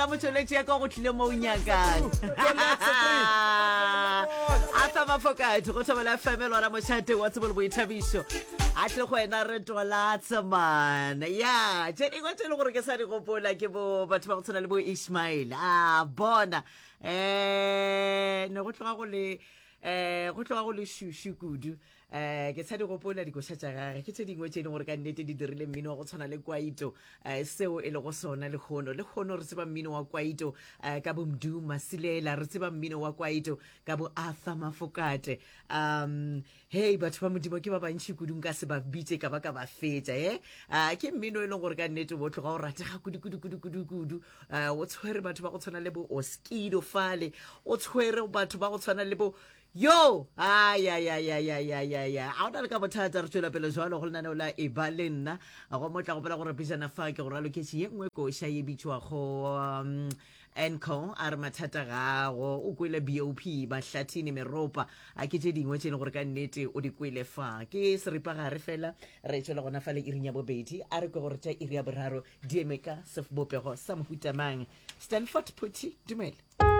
motšweletši ya ka go tlile mo o nyakang. Arthur Mafokate go Thobela FM lona mošate wa tsebo le boithabišo. A tle go wena re tolatse man. Ya, tše dingwe tše e le gore ke sa di gopola ke bo batho ba go tshwana le bo Ishmael. A bona. Eh, ne go tloga go le eh go tloga go le šušu kudu. Um ke sa di gopola dikoša tša gage, ke tše dingwe tše e leng gore ka nnete di dirile mmino wa go tshwana le kwaito um seo e lego sona lehono. Lehono re tseba mmino wa kwaito um ka bo Mdu Masilela, re tseba mmino wa kwaito ka bo Arthur Mafokate. Um hei batho ba Modimo ke ba bantši kudu nka se ba bitše ka ba ka ba fetša e. Uh, ke mmino e leng gore ka nnete bo tloga o ratega kudu kudu kudu kudu kudu. Uh, o tshwere batho ba go tshwana le bo Oskido fale, o tshwere batho ba go tshwana le bo Yo! Ayayayayayaya. A o na le ka bothata re tšwela pele jwalo go lenaneo la e ba le nna. Go mo tla gopola gore pejana fa ke go raloketše ye nngwe koša ye bitšwago um, Enco a re mathata gago o kwele BOP bahlathini meropa a ke tše dingwe tše e leng gore ka nnete o di kwele fa ke seripagare fela re tšwela gona fa le iring ya bobedi a re kwe gore tša iri ya boraro di eme ka sebopego sa mohutamang Stanford Phuthi dumela.